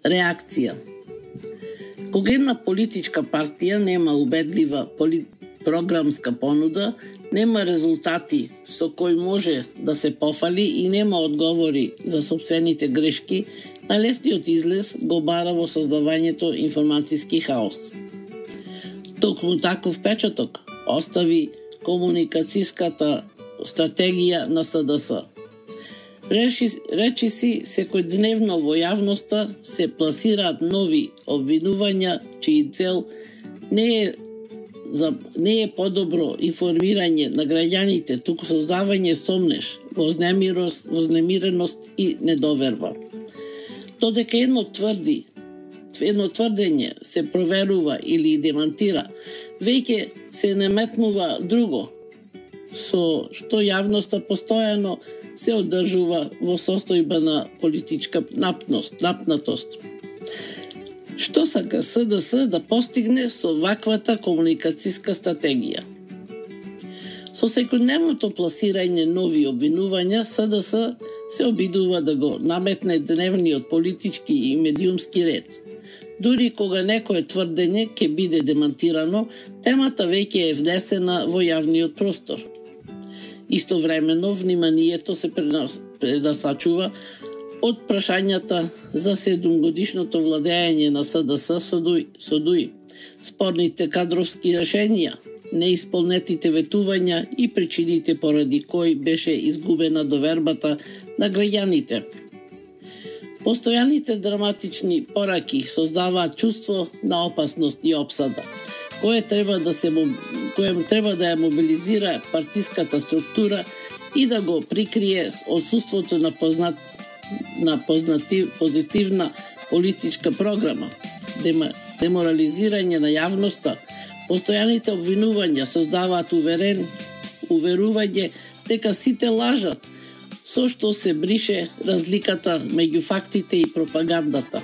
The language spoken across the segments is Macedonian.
Реакција. Кога една политичка партија нема убедлива програмска понуда, нема резултати со кои може да се пофали и нема одговори за сопствените грешки, најлесниот излез го бара во создавањето информацијски хаос. Токму таков печаток остави комуникацијската стратегија на СДС. Речиси секојдневно во јавноста се пласираат нови обвинувања чиј цел не е подобро информирање на граѓаните, туку создавање сомнеш, вознемиреност и недоверба. Додека едно тврдење се проверува или демантира, веќе се наметнува друго, со што јавноста постојано се одржува во состојба на политичка напнатост. Што сака СДС да постигне со ваквата комуникацијска стратегија? Со секојдневното пласирање нови обвинувања, СДС се обидува да го наметне дневниот политички и медиумски ред. Дури кога некое тврдење ќе биде демантирано, темата веќе е внесена во јавниот простор. Истовремено, вниманието се предасачува од прашањата за 7-годишното владење на СДС со ДУИ, спорните кадровски решенија, неисполнетите ветувања и причините поради кои беше изгубена довербата на граѓаните. Постојаните драматични пораки создаваат чувство на опасност и опсада, кое треба да ја мобилизира партиската структура и да го прикрие отсуството на позитивна политичка програма, деморализирање на јавноста. Постојаните обвинувања создаваат уверување дека сите лажат, со што се брише разликата меѓу фактите и пропагандата.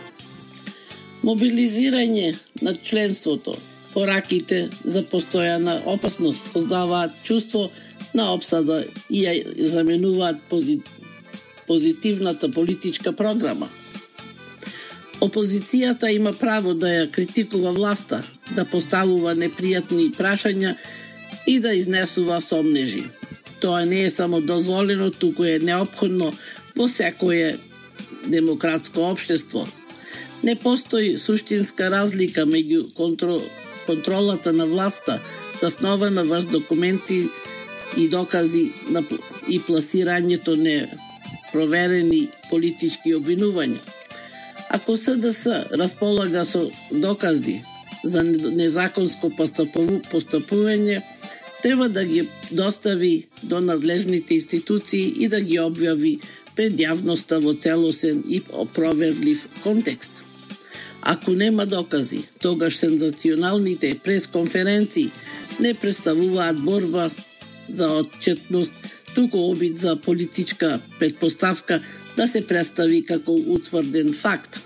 Мобилизирање на членството, пораките за постојана опасност создаваат чувство на опсада и ја заменуваат позитивната политичка програма. Опозицијата има право да ја критикува власта, да поставува непријатни прашања и да изнесува сомнежи. Тоа не е само дозволено, туку е неопходно во секое демократско општество. Не постои суштинска разлика меѓу контролата на власта, заснована врз документи и докази и пласирањето непроверени политички обвинувања. Ако СДС располага со докази за незаконско постапување, треба да ги достави до надлежните институции и да ги објави пред јавноста во целосен и опроверлив контекст. Ако нема докази, тогаш сензационалните пресконференции не представуваат борба за отчетност, туку обид за политичка предпоставка да се представи како утврден факт.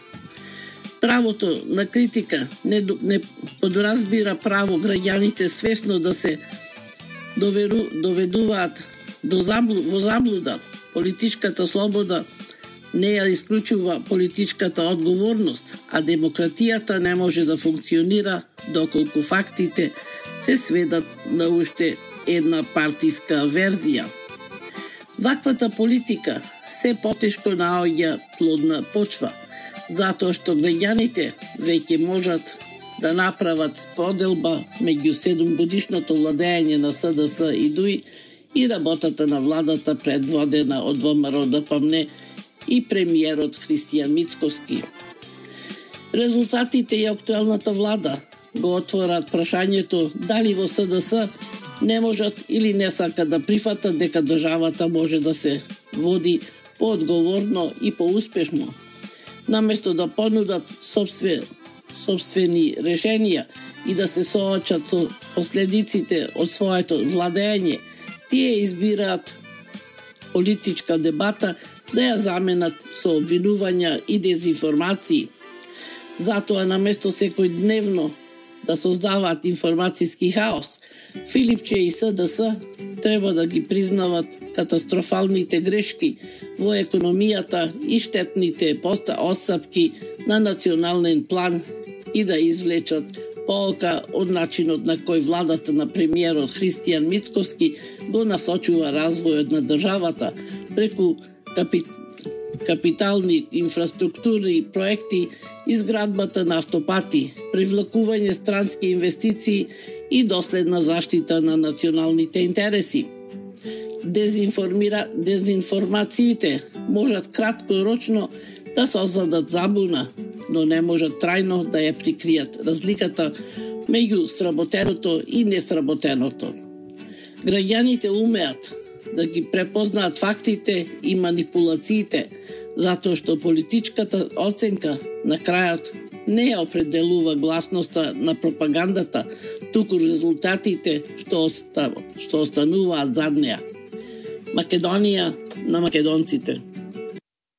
Правото на критика не подразбира право граѓаните свесно да се доведуваат во заблуда. Политичката слобода не ја исклучува политичката одговорност, а демократијата не може да функционира доколку фактите се сведат на уште една партиска верзија. Ваквата политика се потешко наоѓа плодна почва, затоа што граѓаните веќе можат да направат споделба меѓу 7-годишното владење на СДС и ДУИ и работата на владата предводена од ВМРО ДПМНЕ и премиерот Христијан Мицкоски. Резултатите и актуелната влада го отворат прашањето дали во СДС не можат или не сакат да прифатат дека државата може да се води поодговорно и поуспешно. Наместо да понудат собствени решенија и да се соочат со последиците од своето владење, тие избираат политичка дебата да ја заменат со обвинувања и дезинформации. Затоа наместо секојдневно да создаваат информацијски хаос, Филипче и СДС треба да ги признават катастрофалните грешки во економијата и штетните отстапки на национален план и да извлечат поука од начинот на кој владата на премиерот Христијан Мицкоски го насочува развојот на државата преку капитални инфраструктурни проекти, изградбата на автопати, привлекување странски инвестиции и доследна заштита на националните интереси. Дезинформациите можат краткорочно да создадат забуна, но не можат трајно да ја прикријат разликата меѓу сработеното и несработеното. Граѓаните умеат да ги препознаат фактите и манипулациите, затоа што политичката оценка на крајот не ја определува гласноста на пропагандата, туку резултатите што остануваат зад неа. Македонија на македонците.